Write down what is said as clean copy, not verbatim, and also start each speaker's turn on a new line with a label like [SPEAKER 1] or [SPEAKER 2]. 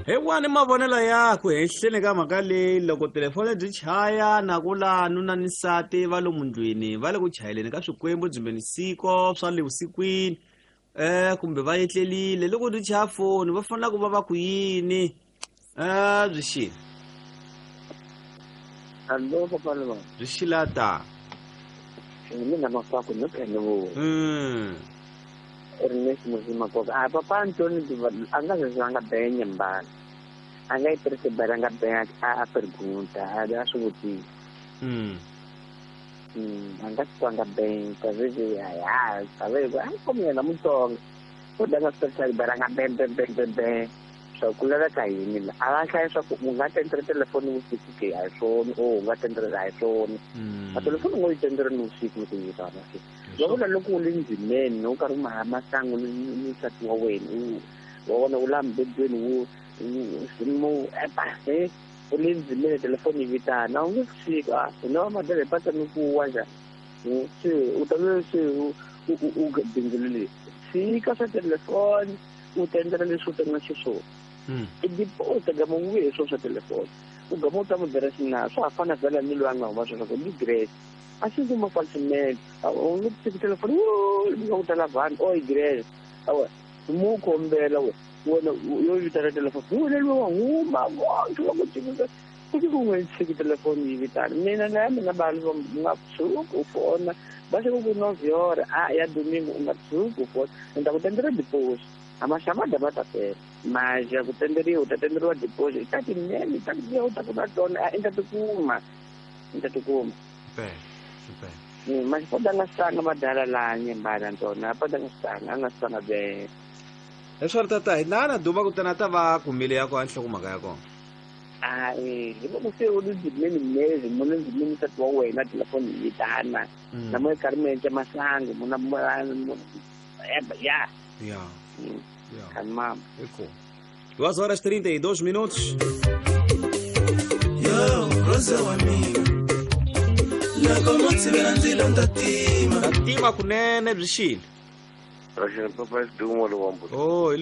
[SPEAKER 1] Hi wani mavonelo yaku henhleni ka mhaka leyi loko telefoni byi chaya na ku la nuna ni nsati va lomu ndlwini va le ku chayeleni ka swikwembu byimbeni siko swa le vusikwini kumbe va etlelile loko byi chaya foni va fanele ku va va ku yini byi xile.
[SPEAKER 2] Allo papa Lwa.
[SPEAKER 1] Byi xila ta.
[SPEAKER 2] Mina mafaku no khe ni vona. Ernest Muzima koka. A papa Antoni a nga ze a nga benya mbala. A nga yi tirhisi bala nga benya a pergunta, a swi vutisa. A nga swi nga benya, ta veve ya ya, ta veve a komi yena Mutsonga. U da nga swi tirhisa bala nga ben ben ben ben ben. Swa ku laveka yini la? A va hlaya swa ku u nga tendere telefoni vusiku ke a hi swona, o u nga tendere a hi swona. A telefoni u ngo yi tendere ni vusiku loko yi vitana ke. Va vula loko u le ndzimeni u karhi u maha masangu ni nsati wa wena, u wa vona u la mbedweni wu mu epa u le ndzimeni telefoni yi vitana a wu nge vusiku a hina va madala hi patsa ni ku wa njhani se u ta ve se u u bindzulile tshika swa telefoni u tendela leswi u tendela xiswona. I deposit gama u vuye hi swona swa telefoni u gama u ta mu byela xina swa ha fana vhela ni loyi a nga huma sweswo ni grace a xi kuma falsimene u nge tshiki telefoni yi nga ku tala vanhu o i grace awa mu kombela we wena yo vitana telefoni wena loyi wa huma vonke va ku tshikisa ku ti ku n'we tshiki telefoni yi vitana mina na ya mina vanhu va nga tshuki u fona va xi ku novyora a ya domingo u nga tshuki u fona ni ta ku tendela deposit a maxamada va ta tela maja ku tenderiwa u ta tenderiwa deposit ta tinene ta ku ta ku na tona a i ta tikuma i ta tikuma. Maxipoda nga swi tlanga madala laha nyembana ntona a poda nga swi tlanga a nga swi tlanga be.
[SPEAKER 1] Leswaku tata hi na na duma kutani a ta va kumile ya kona nhlokomhaka ya kona.
[SPEAKER 2] Hayi hi loko se u le ndzimeni mezi mu le ndzimeni nsati wa wena telefoni yi vitana na mo karhi mi endla masangu mu na ya
[SPEAKER 1] ya
[SPEAKER 2] ya mama.
[SPEAKER 1] Eko 2 horas 32 minutos.
[SPEAKER 3] Yo Rosa wa mina loko mo tshivela ndzilo nda tima.
[SPEAKER 1] Tima kunene byi xile.
[SPEAKER 4] Rachel papa Dumo lo wambu.
[SPEAKER 1] Oh,